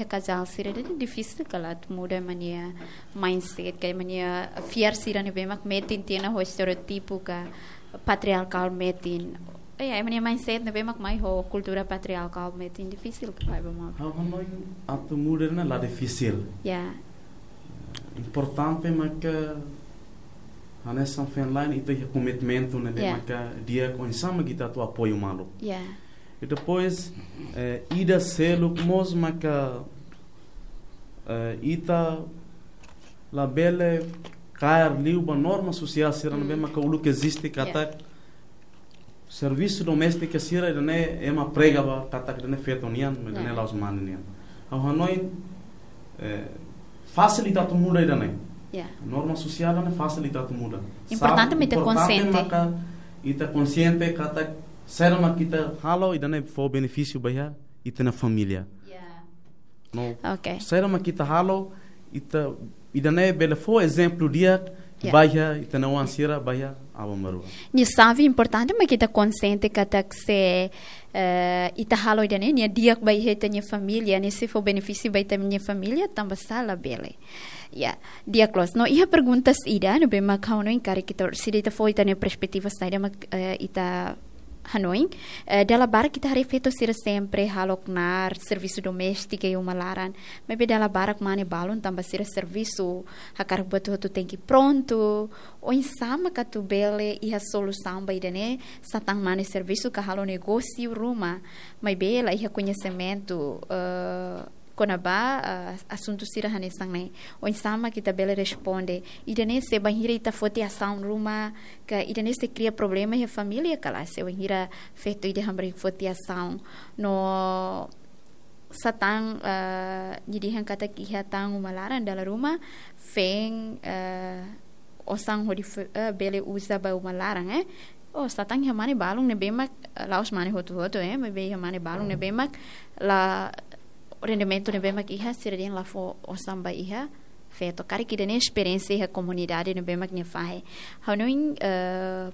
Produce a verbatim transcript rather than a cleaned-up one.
kazál sira ida-ne'e difisil kala atu muda ema nia mindset, ka ema nia fiar sira ne'ebé mak metin tiha ona ho estereótipu ka patriarkál metin. Ya, ema nia mindset ne'ebé mak mai ho kultura patriarkál metin difisil kala ba ema. Ha'u hanoin atu muda ne'e la difisil. Ya. Importante maka hanesan feen-la'en ita iha komitmentu ne'ebé Ya. maka di'ak oinsá mak ita atu apoiu malu. Ya. I depois, eh, ida seluk mós maka, eh, ita labele kaer liu ba norma sosiál sira ne'ebé Hmm. maka uluk eziste Ya. katak servisu doméstika sira ida-ne'e ema prega ba katak ida-ne'e feto nian, ida-ne'e Ya. la'ós mane nian. Ha'u hanoin, eh, fasil ita atu muda ida-ne'e. Ya. Norma sosiál ne'e fasil ita atu muda. Importante Sabe, mak ita importante konsiente. maka ita konsiente katak saida mak ita halo ida-ne'e fó benefísiu ba iha ita-nia família. Ya. No, Oke. saida mak ita halo, ita, ida-ne'e bele fó ezemplu di'ak Ya. ba iha ita-nia oan sira ba iha aban-bainrua. Nia xave importante mak ita konsiente katak se, eh, ita halo ida-ne'e, nia di'ak ba iha ita-nia família, nia sei fó benefísiu ba ita-nia família, tanba sá labele. Ya, di'ak loos. No, iha perguntas ida, ne'ebé mak ha'u hanoin karik ita, se ita fó ita-nia perspetiva saida mak, eh, ita hanoin, eh, dala barak ita haree feto sira sempre halo knaar servisu doméstiku iha uma laran. Maibé dala barak mane balun tanba sira servisu, hakarak buat hotu tenke prontu. Oinsá mak atu bele iha solusaun ba ida-ne'e, satán mane servisu ka halo negósiu ruma. Maibé la iha koñesimentu, eh, kona-ba, eh, asuntu sira hanesan ne'e. Oinsá mak ita bele responde. Ida-ne'e se bainhira ita foti asaun ruma, ka ida-ne'e sei kria problema iha família ka lae, se bainhira feto ida hamriik foti asaun. No satán, eh, nia dehan katak iha tan uma laran dala ruma, feen, eh, osan hodi fe-, eh, bele uza ba uma laran, eh. Oh, satán iha mane balun ne'ebé mak, eh, la'ós mane hotu-hotu, eh, maibé iha mane balun ne'ebé mak la rendimentu ne'ebé mak iha, sira dehan la fó osan ba iha feto. Karik ida-ne'e esperiénsia iha komunidade ne'ebé mak nia fahe. Ha'u hanoin, eh,